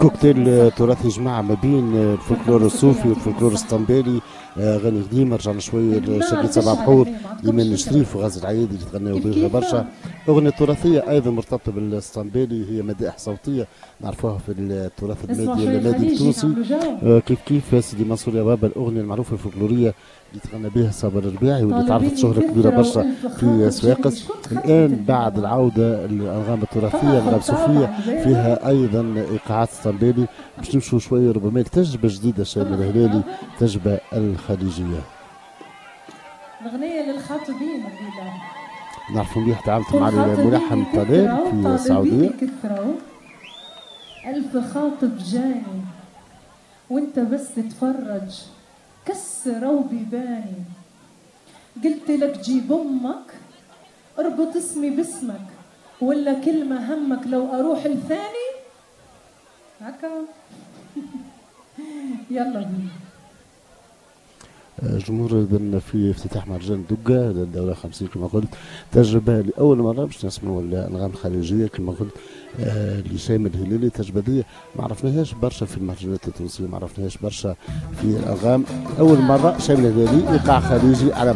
كوكتيل تراثي جمع ما بين الفولكلور الصوفي والفولكلور الاسطنبولي، اغاني قديمة. رجعنا شوية لشريط سبع بحور، ايمان الشريف وغازي العيادي اللي تغنوا بها برشا. اغنية تراثيه ايضا مرتبطة بالاسطنبولي هي مدائح صوتية نعرفوها في التراث المادي المادي التونسي. كيف كيف سيدي منصور يا بابا، الاغنية المعروفة الفولكلوريه اللي تغنى بها صابر الرباعي واللي تعرفت شهره كبيرة برشا في صفاقس. الان بعد العودة الانغام التراثية، الانغام الصوفية، فيها ايضا ايقاعات اسطنبولي. باش نمشوا شوية ربما تجربه جديدة شامل الهلالي، تجربه الخليجيه. اغنية للخاطبين. نعرفوا مليح تعاملت مع الملحن طلال في السعوديه. ألف خاطب جاني وانت بس تتفرج، كسروا بيباني. قلت لك جيب امك، اربط اسمي باسمك، ولا كلمة همك لو اروح لثاني هكا. يلا بينا. جمهور اذا في افتتاح مهرجان دقه للدورة 50 كما قلت، تجربه لاول مرة باش نسمعوا الانغام الخليجية كما قلت لشامل الهلالي. التجربة دي ما عرفناهاش برشا في المهرجانات التونسيه، ما عرفناهاش برشا في الانغام. اول مرة شامل الهلالي ايقاع خليجي على